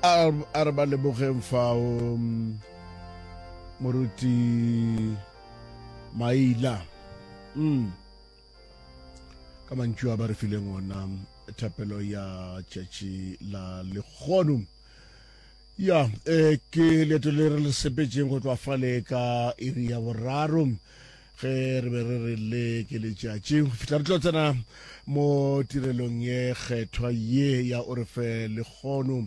A re ba lebogeng fao moruti Maila. Mm. Ka mantšu a ba re fileng ona thapelo ya tšatši la lekgono. Ya, eh, ke leeto le re le sepetšeng go tloga fale ka iri ya boraro ge re be re re le ke letšatši go fihla re tlo tsena mo tirelong ye kgethwa ye ya o re fe lekgono.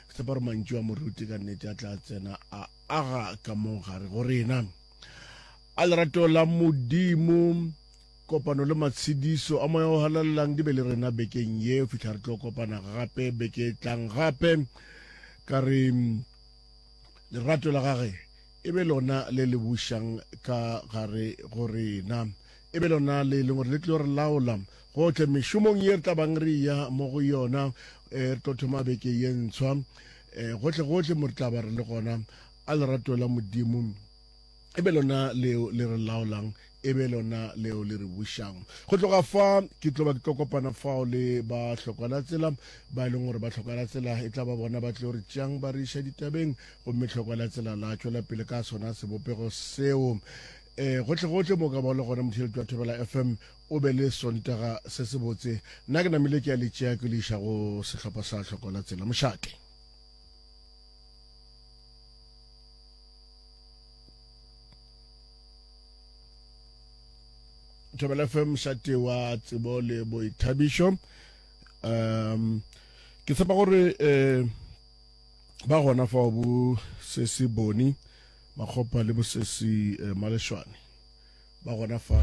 Ke tshepa gore mantšu a moruti ka nnete a tla tsena a aga ka mo gare go rena. A lerato la Modimo Kopano le matshediso a Moya o Halalelang di be le rena bekeng ye go fihla re tlo kopana gape beke e tlang gape. Ka re lerato la gage e be lona le le bušang ka gare go rena, e be lona le e leng gore le tlo re laola gohle mešomong ye re tla bang re ya mo go yona. Eh, re tlo thoma beke ye ntshwa eh, gohle gohle mo re tla ba re le gona. A lerato la Modimo e be lona leo le re laolang, e be lona leo le re bušang. Go tloga fa ke tlo ba ke tlo kopana fao le ba hlokwana-tsela ba e leng gore ba hlokwana-tsela e tla ba bona ba tlo re tšeang ba re iša ditabeng, gomme hlokwana-tsela la tšwela pele ka sona sebopego seo. E, gohle-gohle mo ka ba le gona motheeletši wa Thobela FM o be le Sontaga se sebotse. Nna ke namile ke a le tšea ke le iša go sehlopha sa hlokwana-tsela. Mošate. Thobela FM mošate wa tsebo le boithabišo um ke tshepa gore um ba gona fao bo sesi boni makgopa le bosesi eh, malešwane ba gona fa.